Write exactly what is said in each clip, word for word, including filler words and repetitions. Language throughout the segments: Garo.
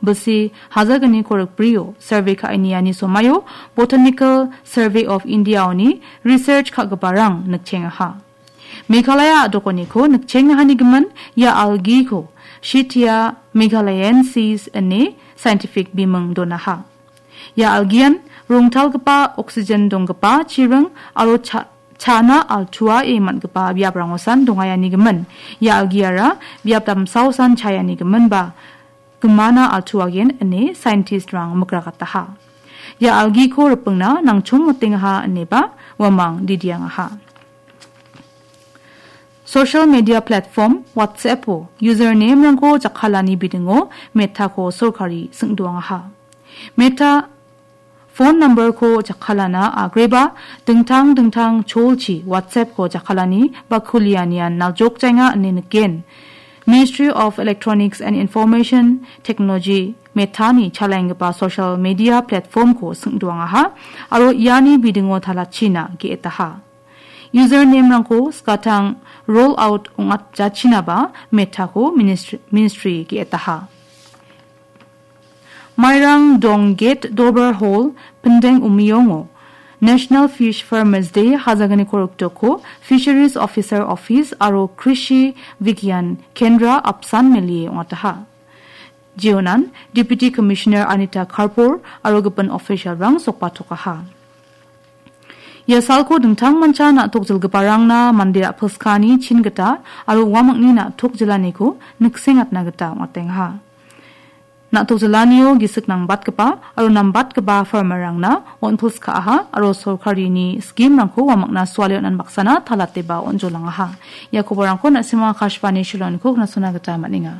Bilsi hazagniko rikbrio survey ka·eniani somaio Botanical Survey of India-oni research ka·giparang nikchengaha. Meghalaya a·dokoniko nikchengahanigimin ia algiko Schittia meghalayensis ine scientific biming donaha. Ia algian rongtalgipa oxygen donggipa chiring aro cha-, chana altuae man·gipa biaprangosan dongaianigimin. Ia algiara biap damsaosan chaianigimin ba gimana altuagen ine scientist-rang mikrakataha. Ia algiko ripingna nangchongmotengaha ineba uamang didiangaha. Social media platform WhatsApp-o username-rangko jakkalani bidingo Meta-ko sorkari singdoangaha. Meta phone number-ko jakkalana agreba dingtang dingtang cholchi WhatsApp-ko jakkalani ba kulianian naljokjaenga ine niken. Ministry of Electronics and Information Technology Meta-ni chalaenggipa social media platform-ko singdoangaha aro iani bidingo talachina ge·etaha. Username-rangko skatang roll out ong·atjachinaba Meta-ko ministry, ministry ge·etaha. Mairang Dong Gate Dover Hall, Pindeng Umiyongo National Fish Farmers Day hazagniko riktoko Fisheries Officer Office aro Krishi Vigyan Kendra apsan melie ong·ataha. Jeonan Deputy Commissioner Anita Karpor aro gipin official-rang sokbatokaha. Ia salko dingtangmancha na·tok jilgiparangna mande ra·pilskani chin gita aro uamangni na·tok jilaniko niksengatna gita ong·atengaha. Na·tok jilanio gisik nangbatgipa aro nambatgipa farmer-rangna on·pilskaaha aro sorkarini scheme-rangko uamangna suale on·an baksana talateba on·jolangaha. Ia koborangko na·sima Akashvani Shillong-niko knasona gita man·enga.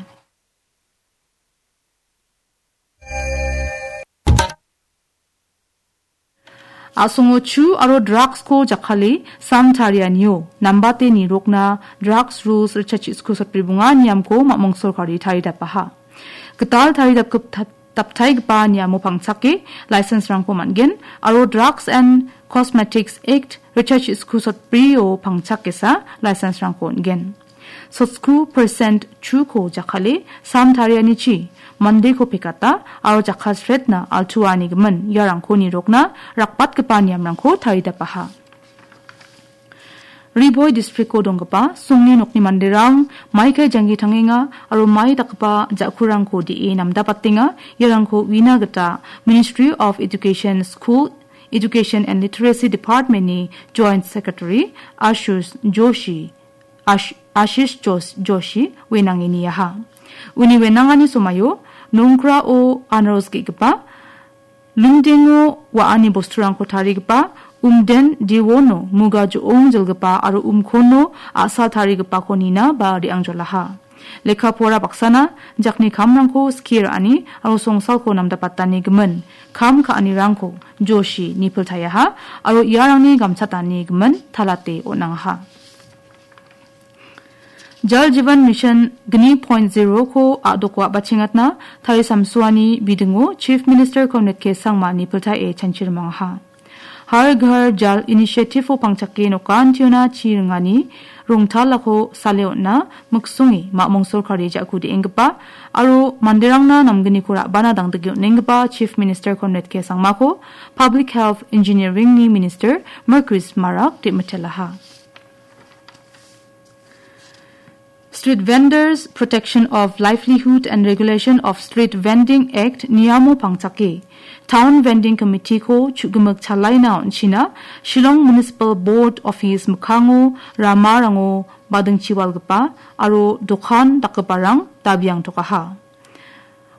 A·songo chu aro drugs-ko jakkale sam tarianio nambate nirokna drugs rules ritchachiko sotbribonga niamko mamung sorkari taridapaha. Gital taridapgip-, daptaigipa niamo pangchake license-rangko man·gen aro drugs and Cosmetics Act ritchachiko sotbrio pangchakesa license-rangko on·gen. Sotsko percent chuko jakkale sam tarianichi mandeko pekata aro jakkalsretna altuanigimin iarangko nirokna rakbatgipa niamrangko taridapaha. Ri Bhoi districto donggipa songni nokni manderang maikai janggi tangenga aro mai dakgipa ja·kurangko de·e namdabatenga. Iarangko uina gita Ministry of Education, School Education and Literacy Department-ni Joint Secretary Ashush Joshi Ash-, Ashish Jos-, Joshi wenange niaha. Uni wenangani somaio nongkrao anaros ge·gipa, lungdengo wa·ani bosturangko tarigipa, umden diwono muga jo·ong jilgipa aro umkono a·sa tarigipako nina ba re·angjolaha. Lekka pora baksana jakni kamrangko skie ra·ani aro songsalko namdapatani gimin kam ka·anirangko Joshi nipiltaiaha aro iarangni gamchatani gimin talate on·angaha. Jal Jeevan Mission gni point zero-ko a·doko a·bachengatna tarisamsoani bidingo Chief Minister Conrad K Sangma nipiltae chanchirimangaha. Har Ghar Jal Initiative-o pangchake nokantiona chi ringani rongtalako sale on·na miksonge mamung sorkari ja·ku de·enggipa aro manderangna namgniko ra·bana dangdike on·enggipa Chief Minister Conrad K Sangmako Public Health Engineering-ni Minister Marcuise Marak de·mitelaha. Street Vendors Protection of Livelihood and Regulation of Street Vending Act niamo pangchake Town Vending Committee-ko chu·gimik chalaina on·china Shillong Municipal Board Office mikkango ramarango badingchiwalgipa aro dokan dakgiparang dabiangtokaha.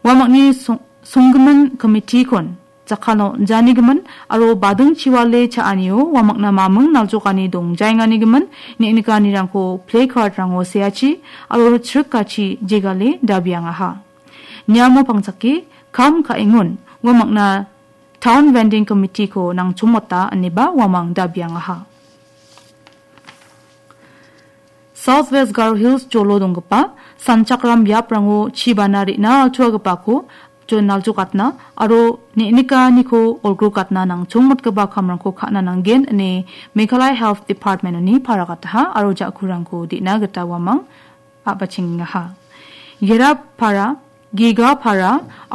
Uamangni song-, songgimin committee-kon jakkalna on·janigimin aro badingchiwale cha·anio uamangna maming naljokani dongjaenganigimin neng·nikanirangko placard-rango seachi aro chrikachi jegale dabiangaha. Niamo pangchake kam ka·engon uamangna Town Vending Committee-ko nangchongmota ineba uamang dabiangaha. South West Garo Hills jolo donggipa sanchakram biaprango chibana re·na altuagipako jon-, naljokatna aro neng·nikaniko olgrokatna nangchongmotgipa kamrangko ka·na nanggen ine Meghalaya Health Department-oni paragataha aro ja·kurangko de·na gita uamang a·bachengengaha. Gerapara, Gegapara,